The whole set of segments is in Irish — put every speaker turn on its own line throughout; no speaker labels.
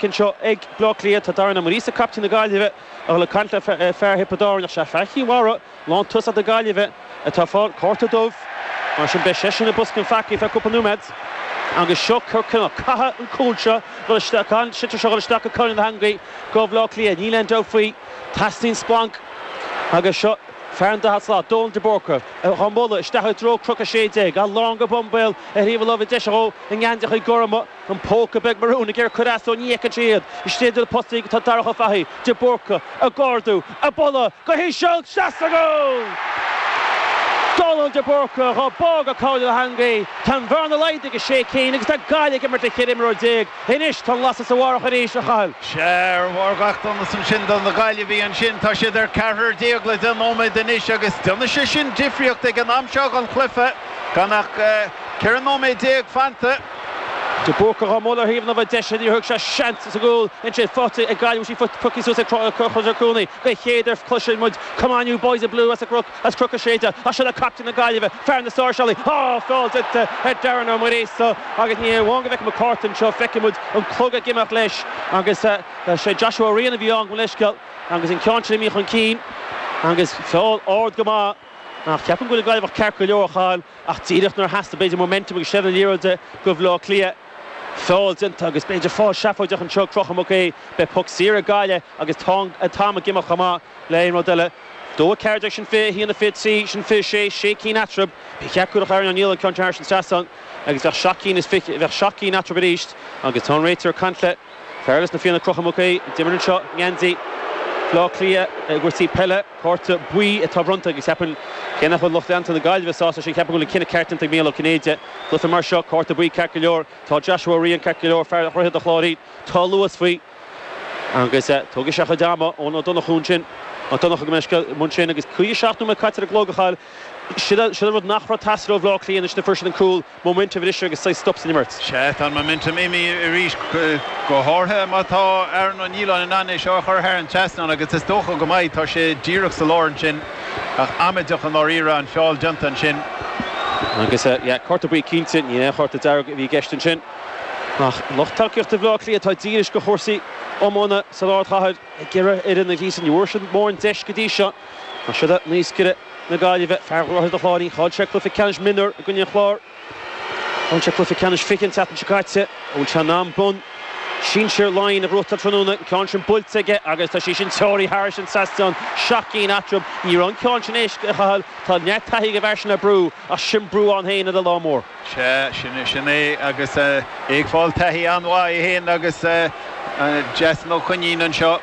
Anseo ag Bleá Cliath tá Darren Ó Muiríosa, captaen na Gaillimhe, ag dul ag caint le fear Thiobraid Árann ach sé fear Chill Mhara, lántosach na Gaillimhe, atá ag fáil cárta dubh. Mar sin beidh seisean i mbosca an pheacaí feadh cúpla nóiméad. Agus seo cineál caithfidh an cúl seo dul isteach, caithfidh an sliotar seo dul isteach go Cathal Ó hEangaí do Bhleá Cliath. Níl aon dabht faoi, teastaíonn splanc agus seo fear an daichead slat, Dónal de Búrca, á mbualadh isteach i dtreo Cnoc 16, lán go bun béal ar thaobh a láimhe deise dhó i ngeansaíochaí gorma. An póca beag marún ag iarraidh cur as dó, ní fheiceann sé iad. Istigh idir na postaí tá Darach Ó Fathaigh, de Búrca, ag ardú, ag bualadh go híseal, isteach sa gcúl! Dónal de Búrca dhá bá go Cathal Ó hEangaí. Tá an bhearna laghdaithe go sé cinn agus tá Gaillimh ag imirt le 14 imreoir. Anois tá an lasadh sa bharrach arís, a Chathail.
Sea, ar bharr gach donas ansin do na Gaillimhigh ansin, tá siad ar ceathrar déag le 10 nóiméad anois agus déanfaidh sé sin difríocht ag an am seo den chluiche gan ach 14 nóiméad fanta.
De Búrca dhá mbualadh ar thaobh na láimhe deise, níor thug sé seans sa gcúl ansin faighte ag Gaillimh, bhí sí pioctha suas ag Conchúr Ó Cuanaigh den chéad uair cloiseann muid Come on you boys in blue as as Cnoc 16 ach seo le captaen na Gaillimhe, fear na sáirseálaí, á feall déanta ar Darren Ó Muiríosa agus ní hamháin go bhfeicfidh muid cárta anseo, feicfidh muid an clog ag imeacht leis agus sé Joshua Ó Riain a bhí ann gabh mo leithscéal agus an ceann sin imithe chun cinn agus feall ard go maith ach ceapaim go bhfuil an Gaillimheach ceart go leor a Chathail. Ach díreach nuair a theastaigh, b'fhéidir, momentum agus seilbh na liathróide do Bhaile Átha Cliath, feall déanta agus b'fhéidir feall seafóideach anseo ag Conchúr Mac Aoidh. Beidh poc saor ag Gaillimh agus tá an t-am ag imeacht chomh maith le aon rud eile. 2, 14, sin 21, 23, sin 26, sé cinn eatarthu. Ba cheart go gcuirfeadh Aaron O'Neill an ceann sin thairis an trasnán agus bheadh seacht gcinn is fiche, bheadh seacht gcinn eatarthu arís agus tá an réiteoir ag caint le fear eile as na Fianna Conchúr Mac Aoidh, a d'imir anseo i ngeansaí Bhaile Átha Cliath i gcúrsaí peile. Cárta buí atá bronnta agus ceapaim, cé nach bhfuil lucht leanta na Gaillimhe sásta sin, ceapaim go bhfuil an cinneadh ceart déanta ag Mícheál Ó Cinnéide. Cluiche mar seo, cárta buí ceart go leor. Tá Joshua Ó Riain ceart go leor, fear Dhroichead an Chláirín. Tá luas faoi agus tógfaidh sé a chuid ama Eoin Ó Donnchú ansin, Ó Donnchú gabh mo leithscéal, i mbun sin agus 57 nóiméad caite ar an gclog a Chathail. Sin an rud nach raibh ag teastáil ó Bhaile Átha Cliath anois nuair a fuair siad an cúl. Momentum a bhriseadh agus saghas stop san imirt.
Sea, tá an momentum imithe arís, go háirithe má tá Aaron Ó Nialláin in ann é seo a chur thar an trasnán agus is dócha go mbeidh, tá sé díreach sa lár ansin ach amaideach i ndáiríre an feall déanta ansin.
Agus, yeah, cárta buí cinnte, ní aon chárta dearg a bhí i gceist ansin. Ach lucht tacaíochta Bhaile Átha Cliath atá dílis do chúrsaí iomána san ardchathair ag iarraidh fhoireann a ghríosadh. Ní bhfuair siad mórán deis go dtí seo. Ach siod é naoscaire na Gaillimhe, fear Dhroichead an Chláirín, chaill sé cluiche ceannais mionúr i gcoinne an Chláir. Chaill sé cluiche ceannais 20 an tseachtain seo caite. An bhfuil sé in am bonn sinsir Laighean a ghnóthachtáil tráthnóna? An ceann sin buailte aige agus tá sí sin treoraithe thairis an trasnán. Seacht gcinn eatarthu. Ní raibh an ceann sin éasca, a Chathail. Tá neart taithí ag an bhfear sin le brú, ach sin brú ann féin ar lá mór.
Sea, sin, sin é agus é ag fáil taithí an-mhaith é féin agus Jason Ó Coinín anseo.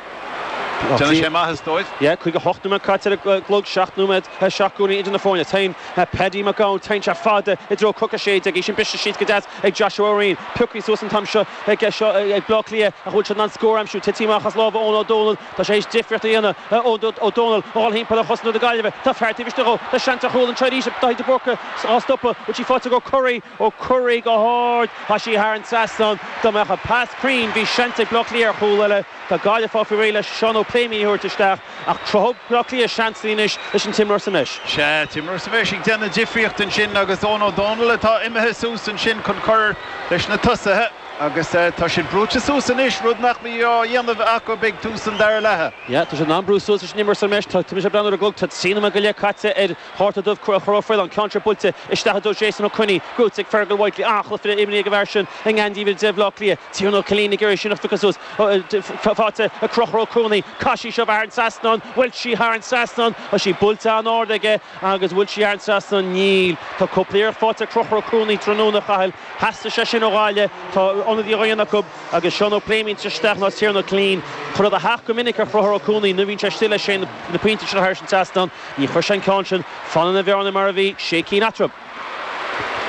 Déanfaidh sé maitheas dóibh.
Yeah, 58 nóiméad caite ar an gclog, 7 nóiméad, 7 gcúilín idir na foirne. Téann Paddy Mac Gabhann, téann sé fada i dtreo Cnoc 16. Í sin briste síos go deas ag Joshua Ó Riain. Pioctha suas an t-am seo ag seo ag Bleá Cliath ach bhfuil siad in ann scór a aimsiú. Tití amach as lámha Eoin Ó Dónaill. Tá sé théis difríocht a dhéanamh. Eoin Ó Dónaill a dhul thimpeall ar chosantóir na Gaillimhe. Tá fear taobh istigh dhó. Tá seans ar chúl anseo arís ag Daithí de Búrca á stopadh. Bhfuil sí faighte ag Ó Curraoin? Ó Curraoin go hard. Tá sí thar an trasnán. Dá mbeadh an pas cruinn bhí seans ag Bleá Cliath ar chúl eile. Tá Gaillimh ag fáil faoi réir le Seán Ó Pléimionn a thabhairt isteach ach cruthóidh Bleá Cliath seansanna anois leis an t-imreoir sa mbreis.
Sea, t-imreoir sa bhreis ag déanamh difríocht ansin agus Eoin Ó Dónaill atá imithe suas ansin chun cur leis na tosaithe agus tá siad brúite suas anois, rud nach mbí á dhéanamh acu ag tús an dara leatha.
Yeah, tá siad in ann brú suas leis an imreoir sa mbreis. Tá mise ag breathnú ar an gclog, tá 3 nóiméad go leith caite ar Chárta dubh Conchúr Ó Faoláin, ceann seo buailte isteach i dtreo Jason Ó Coinín, gnóthaithe ag Fergal Whitely, an-chluiche imeartha ag an bhfear sin i ngeansaí uimhir 10 Bhaile Átha Cliath. Tiarnan Ó Cillín ag iarraidh sin a phiocadh suas, faighte ag Conchúr Ó Cuanaigh, caith sí seo thar an trasnán, bhfuil sí thar an trasnán? Tá sí buailte an-ard aige agus bhfuil sí thar an trasnán? Níl. Tá cúpla iarracht faighte ag Conchúr Ó Cuanaigh tráthnóna, a Chathail. Theastaigh sé sin ó Ghaillimh. Tá ionadaí á dhéanamh acu agus Seán Ó Pléimionn isteach ná Tiarnan Ó Cillín. Chuir a theacht go minic ar Chonchúr Ó Cuanaigh nuair a bhíonn sé istigh leis féin na pointí sin thar an trasnán. Ní chuir sé an ceann sin. Fanann an bhearna mar a bhí, sé cinn eatarthu.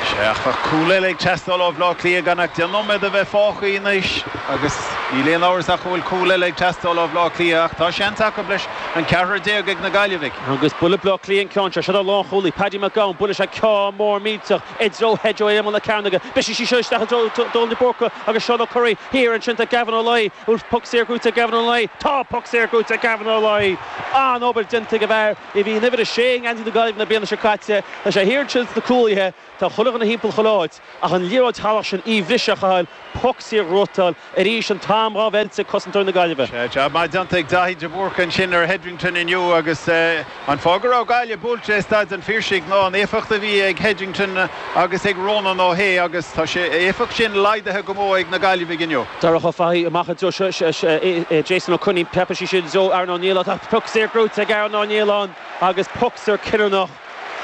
Sea, ach tá cúl eile ag teastáil ó Bhleá Cliath gan ach 10 nóiméad a bheith fágtha anois agus níl aon amhras ach go bhfuil cúl eile ag teastáil ó Bhleá Cliath ach tá seans acu leis an ceathrar déag ag na Gaillimhigh.
Agus buailfidh Bleá Cliath an ceann seo. Seo lánchúlaí, Paddy McGowan, buailfidh sé ceann mór millteach i dtreo Hedge ó imeall na cearnóige. Brisfidh sí seo isteach i dtreo Dónal de Búrca agus Seán Ó Curraoin thiar ansin tá Gavin Ó Laoi. Bhfuil poc saor gnóthaithe ag Gavin Ó Laoi? Tá poc saor gnóthaithe ag Gavin Ó Laoi! An-obair déanta ag an bhfear a bhí in uimhir a sé i ngeansaí na Gaillimhe na bliana seo caite. Tá sé thiar ansin sna cúlaithe. Tá chuile dhuine thimpeall chuile áit ach an liathróid shalach sin í a bhriseadh a Chathail, poc saor a ghnóthachtáil arís an t-am. am dhá mheilt ag cosantóirí na Gaillimhe.
Sea, jab maith déanta ag Daithí de Búrca ansin ar Headington inniu agus an fáth go raibh Gaillimh buailte i Staid an Phiarsaigh ná an éifeacht a bhí ag Headington agus ag Ronan O'Shea agus tá sé éifeacht sin laghdaithe go mór ag na Gaillimhigh inniu.
Darach Ó Fathaigh amach i dtreo Jason Ó Coinín, preabfaidh sí sin i dtreo Aaron Ó Nialláin. Tá poc saor gnóite ag Aaron Ó Nialláin agus poc saor cinniúnach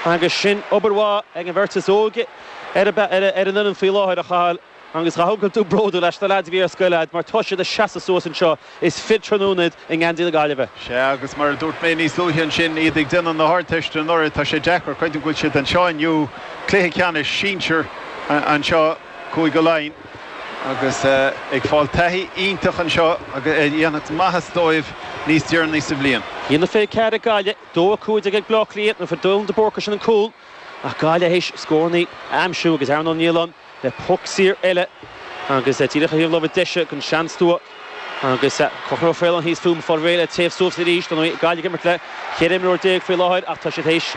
agus sin obair mhaith ag an bheirt is óige ar an bhfoireann faoi láthair, a Chathail, agus chaithfeadh go bhfuil tú bródúil as na leaids a bhí ar scoil a'd mar tá siad ag seasamh suas anseo is fir tráthnóna iad i ngeansaí na Gaillimhe.
Sea, agus mar a dúirt mé níos luaithe ansin, iad ag déanamh na hArdteiste anuraidh, tá sé deacair creidiúint go bhfuil siad anseo inniu, cluiche ceannais sinsir anseo, Cúige Laighean, agus ag fáil taithí iontach anseo agus a dhéanfadh maitheas dóibh níos deireanaí sa bhliain.
1-24 ag Gaillimh, 2-15 ag Bleá Cliath, nuair a fuair Dillon de Búrca sin an cúl, ach Gaillimh théis scórannaí a aimsiú agus Aaron Ó Nialláin le poc saor eile agus díreach ar thaobh na láimhe deise den seanstua agus Conchúr Ó Faoláin thíos fúm ag fáil réidh le téamh suas arís. Dar ndóigh, Gaillimh ag imirt le 14 imreoir faoi láthair ach tá siad théis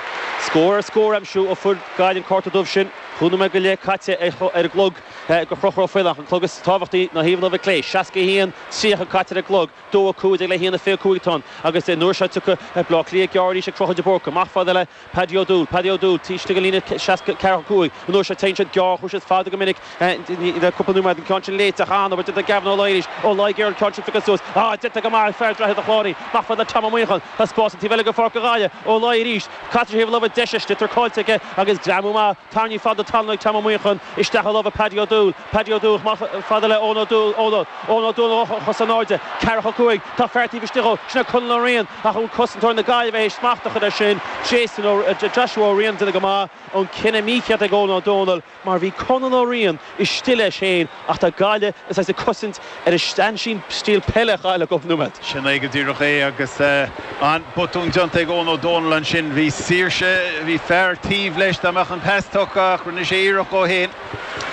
scór ar scór a aimsiú ó fuair Gaillimh an cárta dubh sin. Chúig nóiméad go leith caite ar an gclog do Chonchúr Ó Faoláin ach an clog is tábhachtaí ná thaobh na láimhe clé. 61, 30 caite ar an gclog. 2-15 le 1-25 atá ann agus an uair seo tiocfaidh Baile Átha Cliath gearr arís ag Conchúr de Búrca. Amach fada le Paddy O'Doul, Paddy O'Doul, taobh istigh den líne 64 5, an uair seo téann siad gearr, chuaigh siad fada go minic le cúpla nóiméad, an ceann sin léite ach an-obair déanta ag Gavin Ó Laoi arís, Ó Laoi ag iarraidh an ceann sin a phiocadh suas, ah déanta go maith ag fear Droichead an Chláir, amach fada le Tom Ó Muíneacháin, tá spás an taobh eile de pháirc ag Gaillimh, Ó Laoi arís, caite ar thaobh na láimhe deise, sliotar caillte aige agus greamú maith, tarraingthe fada talún ag Tom Ó Muíneacháin, isteach i lámha Paddy O'Doul, Paddy O'Doul amach fada le Eoin O'Doul, Eoin O'Doul a chos in airde, 4-5, tá fear taobh istigh dhó, sin é Conall Ó Riain, ach an cosantóir na Gaillimhe théis smacht a chur air sin, Jason Ó, Joshua Ó Riain, déanamh go maith, an cinneadh mícheart ag Eoin Ó Dónaill mar bhí Conall Ó Riain istigh leis féin ach tá Gaillimh ag saghas ag cosaint ar a sean-stíl peile a chaill le cúpla nóiméad.
Sin é go díreach é agus an botún déanta ag Eoin Ó Dónaill ansin. Bhí saoirse, bhí fear taobh leis dá mbeadh an pas tugtha ach rinne sé iarracht dhó féin.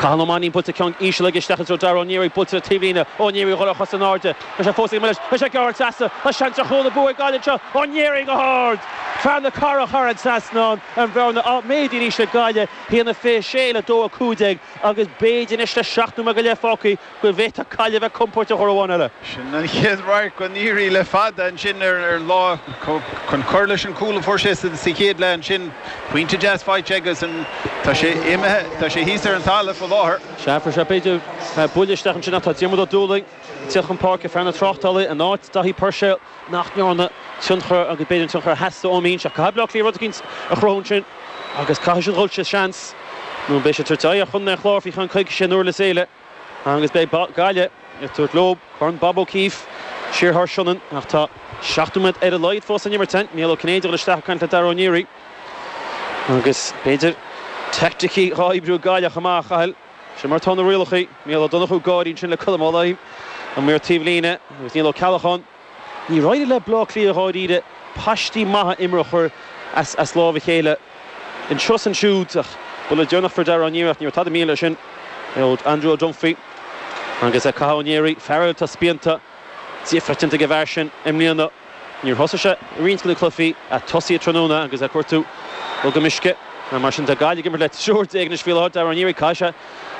Cathal Ó Mainnín buailte ceann íseal aige isteach i dtreo Dara Ó Neary buailte le taobhlíne. Ó Neary ag dul ar chos in airde. Tá sé fós ag imeacht leis. Tá sé ag gearradh trasna. Tá seans ar chúl an bua ag Gaillimh anseo. Ó Neary go hard! Fear na Cathrach thar an trasnán. An bhearna á méadú arís ag Gaillimh. 1-26 le 2-15 agus b'fhéidir anois le 7 nóiméad go leith fágtha go bhféadfadh Gaillimh bheith compóirteach uair amháin eile.
Sin an chéad radharc do Neary le fada ansin ar lá chun cur leis an cúl a fuair sé sa chéad leath ansin. Pointe deas faighte aige agus tá sé imithe, tá sé thíos ar an talamh faoi láthair.
Sea, fuair sé b'fhéidir buille isteach ansin ach tá Diarmuid Ó Dúlaing ag teacht chun páirce, fear na tráchtála in áit Daithí Puirséil nach ndearna tionchar agus b'fhéidir an tionchar a theastaigh ón mbinse. Ach caithfidh Bleá Cliath rud eicínt a chruthú ansin agus caithfidh siad dhul sa seans nó beidh siad ag tabhairt aghaidh ar Chontae an Chláir faoi cheann coicíse in Durlas Éile. Agus beidh Gaillimh ag tabhairt leo Corn Bob O'Keeffe siar thar Sionainn ach tá 7 nóiméad ar a laghad fós san imirt. Micheál Ó Cinnéide ag dul isteach ag caint le Dara Ó Neary agus b'fhéidir teaicticí dhá oibriú ag Gaillimh chomh maith, a Chathail. Sin mar atá na rialacha. Micheál Ó Donnchú ag gáirí ansin le Colm Ó Laighin, an maor taobhlíne, agus Niall Ó Ceallacháin. Níor éirigh le Bleá Cliath dháiríre paistí maithe imeartha a chur as lámh a chéile anseo is ansiúd ach buille deireanach fuair Dara Ó Neary ach ní raibh tada mícheart leis sin ó Andrew O'Dunphy agus Cathal Ó Neary, fear eile atá spíonta, difríocht déanta ag an bhfear sin i mbliana. Níor thosaigh sé i roinnt de na cluichí ach tosaithe tráthnóna agus é ag cuartú rud go uisce. Mar sin tá Gaillimh ag imirt le triúr déag anois faoi láthair. Dara Ó Neary, caithfidh sé,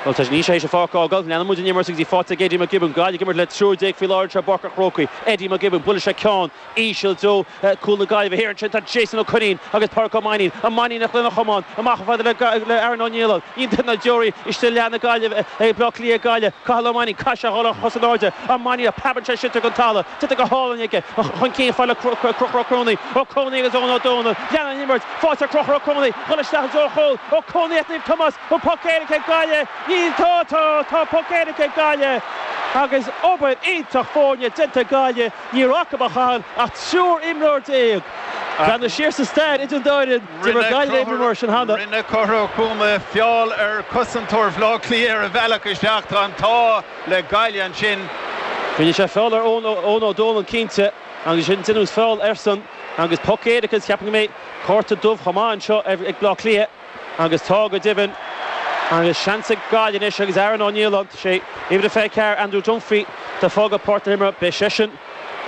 bhuel tá níl sé théis an pháirc a fhágáil. Leanann muid an imirt agus í faighte ag Eddie McGibbon. Gaillimh ag imirt le triúr déag faoi láthair anseo i bPáirc an Chrócaigh. Eddie McGibbon, buaileann sé ceann íseal i dtreo cúl na Gaillimhe. Thiar ansin tá Jason Ó Coinín agus Pádraic Ó Mainnín. Ó Mainnín lena chamán amach chomh fada le Aaron Ó Nialláin. Iontach na deoraí istigh i leath na Gaillimhe ag Bleá Cliath ag Gaillimh. Cathal Ó Mainnín, caithfidh sé a dhul ar chos in airde. Ó Mainnín, preabann sé sliotar den talamh. Déanta go hálainn aige. Chun cinn fada le Conchúr Ó Cróinín. Ó Cróinín agus Eoin Ó Dónaill. Leanann an imirt. Faighte ag Conchúr Ó Cróinín. Dhul isteach i dtreo an chúil. Ó Cróinín ach Naomh Tomás. An poc éirice ag Gaillimh. Níl. Tá, tá, tá poc éirice ag Gaillimh. Agus obair iontach foirne déanta ag Gaillimh. Ní raibh acu, a Chathail, ach triúr imreoir déag. Breathnaigh siar sa stair idir an dá fhoireann, d'imir Gaillimh imreoir mar sin cheana.
Rinne Conchúr Ó Cróinín feall ar chosantóir Bhaile Átha Cliath ar a bhealach isteach. Tá an t-ádh le Gaillimh ansin.
Rinne sé feall ar Eoin Ó Dónaill cinnte agus ansin deineadh feall airsean agus poc éirice agus ceapaim go mbeidh cárta dubh chomh maith anseo ag Bleá Cliath agus tá go deimhin agus seans ag Gaillimh anois agus Aaron Ó Nialláin, tá sé uimhir a 24, Andrew Dunphy atá ag fágáil páirc na himeartha, beidh seisean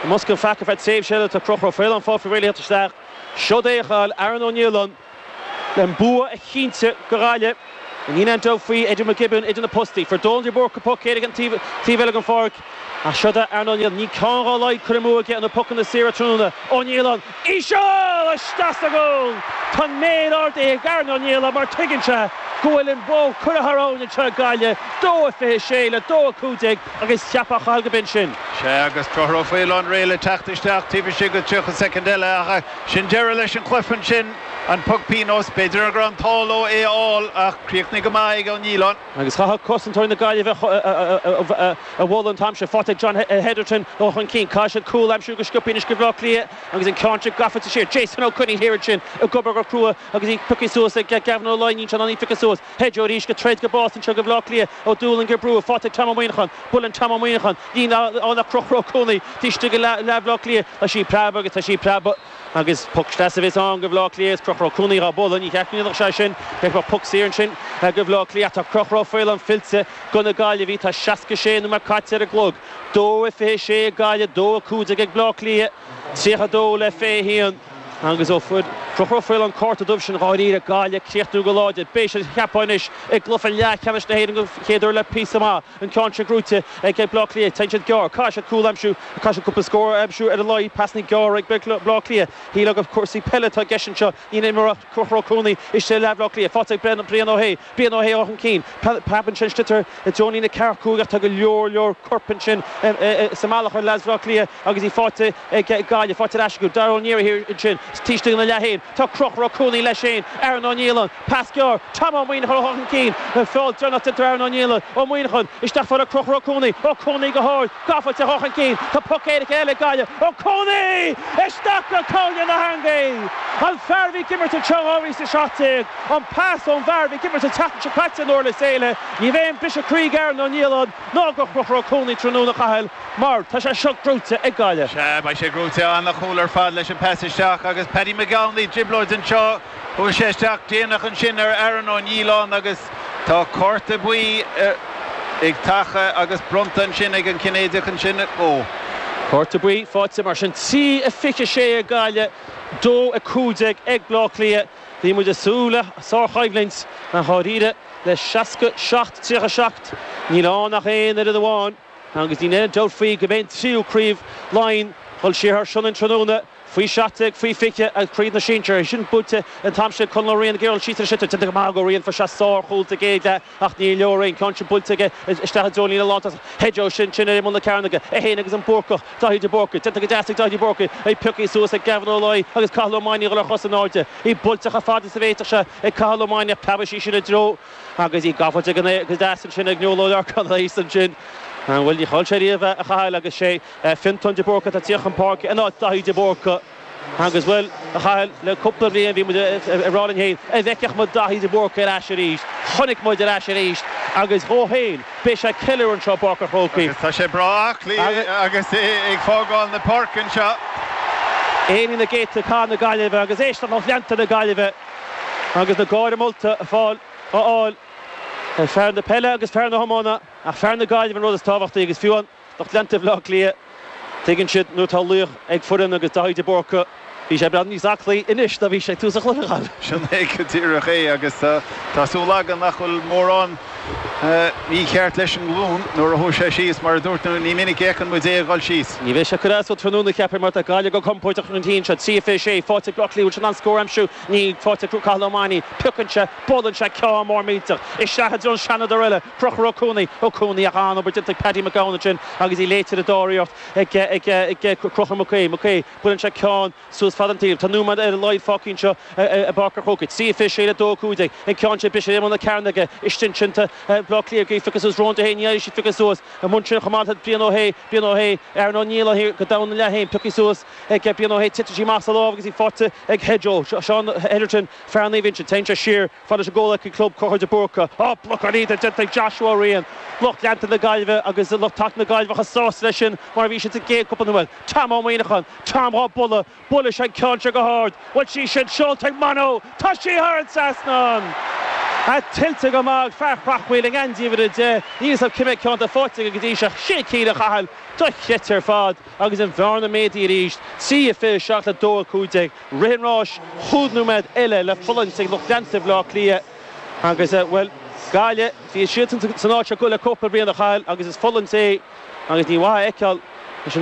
i mbosca an pheaca ar feadh tréimhse eile, tá Conchúr Ó Faoláin fágtha faoi réir le theacht isteach. Seod é a Chathail, Aaron Ó Nialláin le an bua a chinntiú do Ghaillimh. Níl aon dabht faoi Eddie McGibbon idir na postaí. Fuair Dónal de Búrca poc éirice an taobh eile den pháirc. Ach seo do Aaron Ó Nialláin. Níl ceann dá laghad curtha amú aige ar na pocanna saora tráthnóna. Ó Nialláin, íseal! Isteach sa gcúl! Tá an méar ardaithe ag Aaron Ó Nialláin mar tuigeann sé go bhfuil an bó curtha thar abhainn anseo ag Gaillimh. 2-26 le 2-15 agus cheapfá a Chathail go b'in sin.
Sea, agus Conchúr Ó Faoláin réidh le teacht isteach taobh istigh de 30 soicind eile ach sin deireadh leis an chluiche ansin. An poc pionóis, b'fhéidir go raibh an t-ádh leo é a fháil ach chríochnaigh go maith ag Ó Nialláin.
Agus chaithfeadh cosantóirí na Gaillimhe a mholadh an t-am sin. Faighte ag John Hetherton ó chun cinn. Caithfidh siad cúl a aimsiú go sciobtha anois do Bhaile Átha Cliath agus an ceann sin gafa siar. Jason Ó Coinín thiar ansin ag obair go crua agus í pioctha suas ag Gavin Ó Laighin. Níl sé in ann í a phiocadh suas. Hedge arís ag troid go bás anseo do Bhaile Átha Cliath. Ó Dúlaing ag brú. Faighte ag Tom Ó Muineacháin. Buaileann Tom Ó Muineacháin. Níl ann ach Conchúr Ó Cuanaigh taobh istigh de leath Bhaile Átha Cliath. Tá sí ag preabadh agus tá sí ag preabadh. Agus poc deas a bheas ann do Bhaile Átha Cliath is Conchúr Ó Cuanaigh dhá bualadh, ní cheart go ndéanfadh sé sin, bheadh poc saor ansin do Bhaile Átha Cliath. Tá Conchúr Ó Faoláin fillte do na Gaillimhigh, tá 66 nóiméad caite ar an gclog, 2-26 ag Gaillimh, 2-15 ag Baile Átha Cliath, 32 le 21. Agus ó fuair Conchúr Ó Faoláin an cárta dubh sin dháiríre, Gaillimh ag críochnú go láidir. Beidh siad, cheapfá anois, i gcluiche leathcheannais na hÉireann don chéad uair le píosa maith. An ceann sin gnóite ag Baile Átha Cliath. Téann siad gearr. Caithfidh siad cúl a aimsiú. Caithfidh siad cúpla scór a aimsiú ar a laghad. Pasanna gearra ag Baile Átha Cliath. Shílfeá gur cúrsaí peile atá i gceist anseo. Ní an imreoir Conchúr Ó Cuanaigh istigh i leath Bhaile Átha Cliath. Faighte ag Brian Ó hAodha. Brian Ó hAodha chun cinn. Preab ansin sliotar i dtreo an líne ceathracha cúig ach tá go leor leor coirp ansin sa mbealach ar leaids Bhaile Átha Cliath agus í faighte ag Gaillimh. Faighte ar ais acu. Dara Ó Naoire thiar ansin. Taobh istigh ina leath féin. Tá Conchúr Ó Cuanaigh leis féin. Aaron Ó Nialláin. Pas gearr, Tom Ó Muineacháin ó chun cinn, feall deireanach déanta ar Aaron Ó Nialláin, Ó Muineacháin isteach fada le Conchúr Ó Cuanaigh, Ó Cuanaigh go hard, gafa ó chun cinn, tá poc éirice eile ag Gaillimh, Ó Cuanaigh! Isteach go cúinne na heangaí! An fear a bhí ag imirt anseo 2017, an pas ón bhfear a bhí ag imirt an tseachtain seo caite in Durlas Éile, ní bheidh aon briseadh croí ag Aaron Ó Nialláin ná go Conchúr Ó Cuanaigh tráthnóna a Chathail mar tá sé seo gnóite ag Gaillimh.
Sea, beidh sé gnóite, an-chúl ar fad leis an pas isteach agus Paddy McGownley, trioblóid anseo. Chuaigh sé isteach déanach ansin ar Aaron Ó Nialláin agus tá cárta buí ag taca agus bronnta ansin ag an Cinnéideach ansin. Ó.
Cárta buí faighte mar sin. 3-26 ag Gaillimh, 2-15 ag Baile Átha Cliath. Bhí muid ag súil le sárchoimhlint ach dháiríre le 67 37 níl ann ach aon fhoireann amháin agus níl aon dabht faoi go mbeidh an tríú craobh Laighean dul siar thar Sionainn tráthnóna. Faoi 17, faoi 20 agus craobh na sinsear. Sin buailte an t-am sin ag Conall Ó Riain ag iarraidh dul síos ar an sliotar. Déanta go maith ag Ó Riain, fuair sé sár-chúl sa gcéad leath ach ní leor é. An ceann sin buailte aige isteach i dtreo an líne lántosach. Hedge sin sin ar imeall na cearnóige. É féin agus an Búrcach, Daithí de Búrca. Déanta go deas ag Daithí de Búrca. É pioctha suas ag Gavin Ó Laoi agus Cathal Ó Maine ag dul ar chosa in airde. Í buailte chomh fada is a bhféadfadh sé ag Cathal Ó Maine ach preabfaidh sí sin i dtreo agus í gafa go deas ansin ag Noel Ó Lorcáin thíos ansin. Bhuel, ní chaill sé riamh a Chathail agus sé Fiontán de Búrca atá tíocht chun páirce in áit Daithí de Búrca agus, bhuel, a Chathail, le cúpla bliain bhí muid ag rá linn féin, an bhfeicfeadh muid Daithí de Búrca ar ais arís? Chonaic muid ar ais arís agus dhó féin, beidh sé ag ceiliúradh anseo i bPáirc an Chrócaigh.
Agus tá sé breá aclaí agus é ag fágáil na páirce anseo.
Éiríonn na gcéadta cathair na Gaillimhe agus éisteacht lucht leanta na Gaillimhe agus na gáire molta á fháil ag fear na peile agus fear na hiomána ach fear na Gaillimhe an rud is tábhachtaí agus fiú an Lucht leanta Bhaile Átha Cliath, tuigeann siad nuair atá laoch ag foireann agus Daithí de Búrca, bhí sé beagán níos aclaí anois ná bhí sé ag tús an chluiche, a Chathail.
Sin é go díreach é agus tá súil agam nach bhfuil mórán mícheart leis an nglún nuair a chuaigh sé síos. Mar a dúirt tú, ní minic a fheiceann muid é ag dul síos.
Ní bheidh sé ag cur as dó tráthnóna, cheapfainn, mar tá Gaillimh go compordach chun cinn anseo. 3 26 faighte ag Baile Átha Cliath, bhfuil siad in ann scór a aimsiú? Níl, faighte ag Cathal Ó Maine. Piocann sé, buaileann sé ceann mór millteach isteach i dtreo an Seanadóir eile. Conchúr Ó Cuanaigh, Ó Cuanaigh ach an-obair déanta ag Paddy McGowan ansin agus í léite ar an dara hiarracht ag Conchúr Mac Aodha, Mac Aodha, buaileann sé ceann suas fada an taobh. Tá nóiméad ar a laghad fágtha anseo i bPáirc an Chrócaigh. 3 26 le 2 15. An ceann sin briseadh ar imeall na cearnóige istigh ansin tá Baile Átha Cliath ag iarraidh piocadh suas Ronan Dehane, ní éireoidh siad piocadh suas. Amuigh ansin chomh maith tá Brian Ó hAodha, Brian Ó hAodha, Aaron Ó Nialláin thiar go domhan ina leath féin, pioctha suas ag Brian Ó hAodha, titeann sí amach as a lámh agus í faighte ag Hedge, Seán Hetherton, fear Naomh Uinseann, téann sé siar. Fad leis an gcomhleacaí club Conchúr de Búrca. Á, blocáil iontach déanta ag Joshua Ó Riain. Lucht leanta na Gaillimhe agus lucht taca na Gaillimhe chomh sásta leis sin mar a bhí siad sa gcéad cúpla nóiméad. Tom Ó Muineacháin. Tom dhá bualadh. Buaileann sé an ceann seo go hard. Bhfuil sí sin seolta ag Mano? Tá sí thar an trasnán! Tuillte go maith ag fear Chreachmhaoil i ngeansaí uimhir 10. Níl 'fhios a'm cé mhéad ceann atá faighte aige go dtí seo. Sin cinn a Chathail. Dochreidte ar fad agus an bhearna méadaithe arís. 3 27 le 2 15. Rith an ráis, chúig nóiméad eile le fulaingt ag lucht leanta Bhaile Átha Cliath agus, bhuel, Gaillimh, bhí siadsan san áit seo le cúpla bliain a Chathail agus is fulaingt é agus ní mhaith a fheiceáil.